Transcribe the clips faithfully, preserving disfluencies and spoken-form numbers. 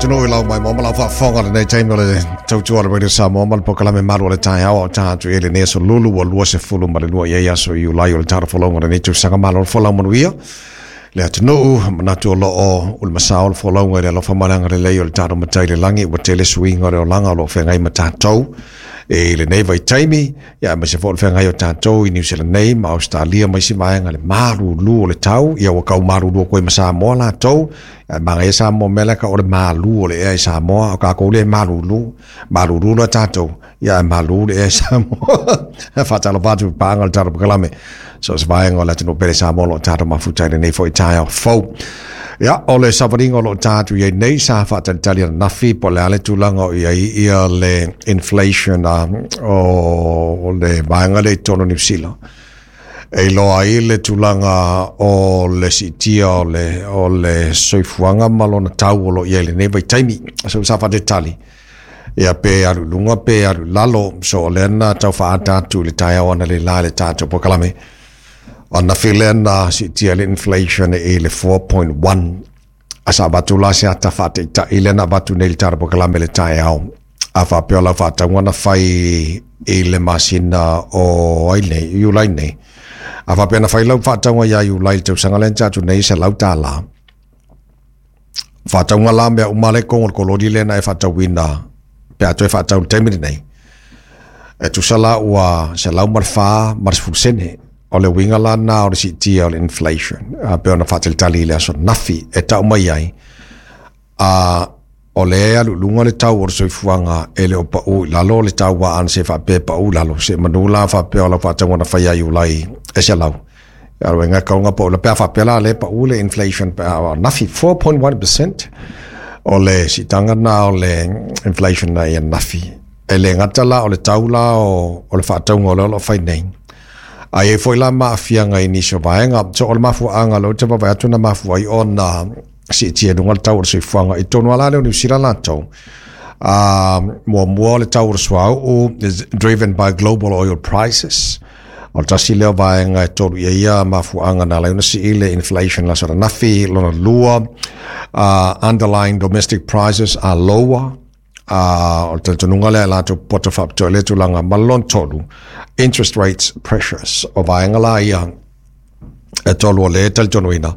Atunuu i lau maimoa ma lau faafofoga lenei taimi o le tautua o le Radio Samoa ma le polokalame malu o le taeao o tatou i lenei aso Lulu ua lua sefulu ma le lua i ai aso Iulai o le tatou folauga o lenei tausaga. Malo le folau manuia le atunuu, manatu o loo o le masao o le folauga i le alofa ma le agalelei o le tatou Matai i le lagi. Ua tele suiga o le olaga o loo feagai ma tatou i lenei vaitaimi, ia aemaise foi o le feagai o tatou i Niu Sila nei ma Ausetalia ma isi vaega, le malulu o le tau. Ia ua kau malulu atu ai ma Samoa latou, ae magaia Samoa mea lea ka o le malu o le ea i Samoa, o tatou le malulu, malulu loa tatou, ia ae malu le ea i Samoa. Faatalofa atu i paaga o le tatou polokalame, so o se vaega o le atunuu pele Samoa o lo o tatou mafuta i lenei foi taeao fou. Ia, o le savaliga o lo o tatou i ai nei sa faatalitali ananafi po o le a le tulaga o i ai ia le inflation o le vaega lea i totonu o Niu Sila. E iloa ai le tulaga o le siitia o le, o le soifuaga ma lona tau o lo o i ai i lenei vaitaimi. So sa faatalitali, ia pe alu i luga pe alu i lalo. So o lea na tau faaata atu i le taeao analeila i le tatou polokalame. Ananafi lea na siitia le inflation i le four point one. A sa avatu la se ata faataitai lea na avatu nei i le tatou polokalame i le taeao. A faapea o lau faatauga na fai i le masina o ai nei, Iulai nei. A faapea na fai lau faatauga ia Iulai i le tausaga lea na tatou nei selau tala. Faatauga la mea uma le kongo o le kololi lea na e faatauina pe a toe faatau i le taimi lenei. E tusa la ua selau ma le fa ma le sefulu sene. O le uiga la na o le siitia o le inflation. A pe ona faatalitali i le aso nafi e tau mai ai. A o le alu i luga le tau o le soifuaga e le o pau i lalo le tau a ana se faapea pau i lalo. Se manu la faapea o lau faatauga na fai ia Iulai e selau. Ia uiga kaunga pau la pe a faapea la le pau le inflation pe a nafi four point one percent o le siitaga na o le inflation na ia nafi. E le gata la o le tau la o, o le faatauga o le o lo o fai nei. Ai e foi la maafiaga i nisi o vaega. So o le mafuaaga lea ou te vaavaai atu na mafua ai ona siitia i luga le tau o le soifuaga i totonu lava lea o Niu Sila latou. Uh, muamua o le tau o le suauu is driven by global oil prices. O le tasi lea o vaega e tolu i ai ia mafuaaga na ala ai ona sii le inflation la aso ananafi. Lona lua, uh, underlying domestic prices are lower. Uh, o le talitonuga lea e latou poto faapitoa i lea tulaga. Ma le lona tolu, interest rates pressures. O vaega la ia e tolu o le talitonuina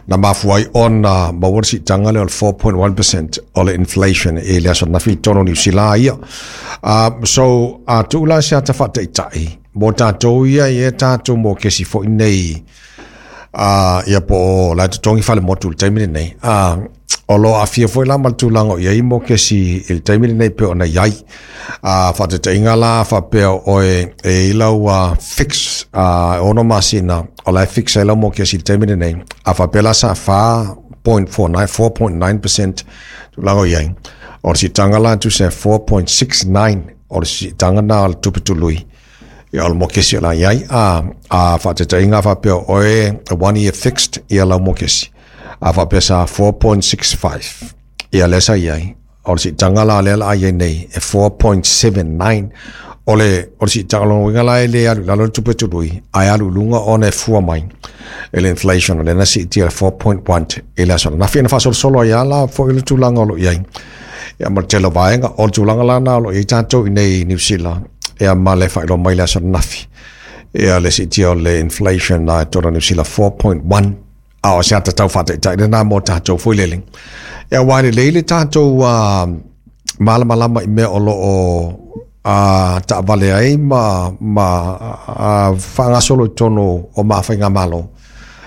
na mafua ai ona maua le siitaga lea o le four point one percent o le inflation i le aso ananafi i totonu o Niu Sila ia. Uh, so, a tuu la se ata faataitai mo tatou ia i e tatou mo kesi foi nei uh, ia po o la totogi fale motu i le taimi lenei. Uh, o lo aafia foi la ma le tulaga o i ai mo kesi i le taimi lenei pe ona i ai. Uh, faataitaiga la faapea oe e i lau uh, fix uh, ono masina o la e fix ai lau mo kesi i le taimi lenei. A faapea la sa four point four nine, four point nine percent tulaga o i ai. O le siitaga la tusa e four point six nine o le siitaga na o le tupe tului. Ia o le mokesi o la i ai. A, a faataitaiga faapea oe one year fixed ia lau mokesi. A faapea sa four point six five ia lea sa i ai. O le siitaga la lea la ai ai nei e four point seven nine. O le, o le siitaga lona uiga la e le alu i lalo le tupe tului, ae alu i luga ona e fua mai e le inflation o lea na siitia le four point one i le aso ananafi. Na faasolosolo ai lava la foi le tulaga o lo o i ai. Ia ma le tele o vaega, o le tulaga la na o lo o i ai tatou i nei i Niu Sila, ia ma le faailoa mai le aso ananafi. Ia le siitia o le inflation na e totonu o Niu Sila four point one. A o se ata tau faataitai lena mo tatou foi lele. Ia aua e lelei le tatou uh, malamalama i mea o lo o uh, taavale ai ma, ma uh, faagasolo i totonu o maafaigamalo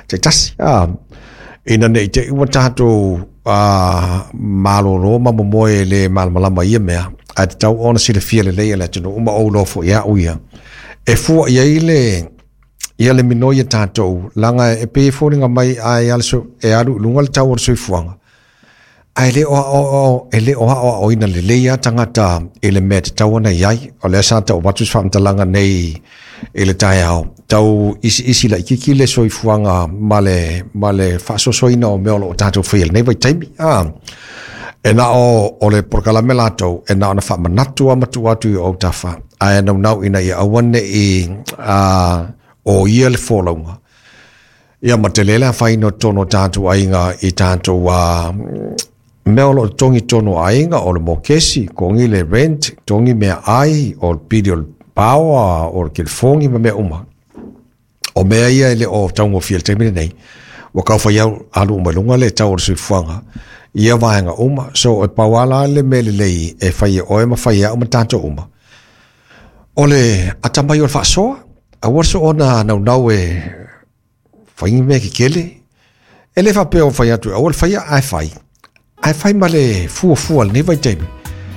taitasi. Uh, ina nei te i ua tatou uh, malolo ma momoe e le malamalama i ia mea, ae tatau ona silafia lelei e le atunuu ma ou iloa foi au ia. E fua i ai le ia le minoi e tatou, laga e pei e foliga mai ai ale so, e alu i luga le tau o le soifuaga. Ae le o aoaoina e le o aoaoina lelei lava tagata i le mea e tatau ona i ai. O lea sa tau avatu se faamatalaga nei i le taeao, tau isiisi laitiiti le soifuaga ma le, ma le faasoasoaina o mea o lo o tatou faia i lenei vaitaimi. Ah, e na o, o le polokalame latou, e na ona faamanatu a matua atu i o autafa, ae naunau ina ia aua nei uh, o ia le folauga. Ia ma tele le afaina o totonu o tatou aiga i tatou uh, Mea o loo totogi tonu o aiga o le mokesi, totogi le rent, totogi meaai, o le pili o le power, o le telefoni ma mea uma. O mea ia e le o taugofie i le taimi lenei, ua tau fai au alu uma i luga le tau o le soifuaga i ia vaega uma. So e pau lava la le mea lelei e fai e oe ma fai e au ma tatou uma, o le atamai o le faasoa, aua le soona naunau e fai ni mea kekele. E le faapea o fai atu aua le faia, ae fai. Ae fai ma le fuafua i lenei vaitaimi.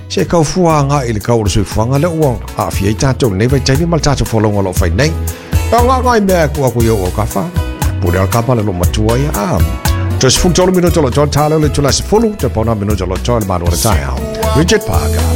Se i tau fua agai i le tau o le soifuaga lea ua aafia ai tatou i lenei vaitaimi ma le tatou folauga o lo o fai nei. E nai mea e tuu atu i ou autafa. Pule o le kapa le loomatua ia. Ah, toe sefulu tolu minute o loo totoe, ta lea o le itula e sefulu, toe pauna minute o loo totoe le malu o le taeao. Richard Parker.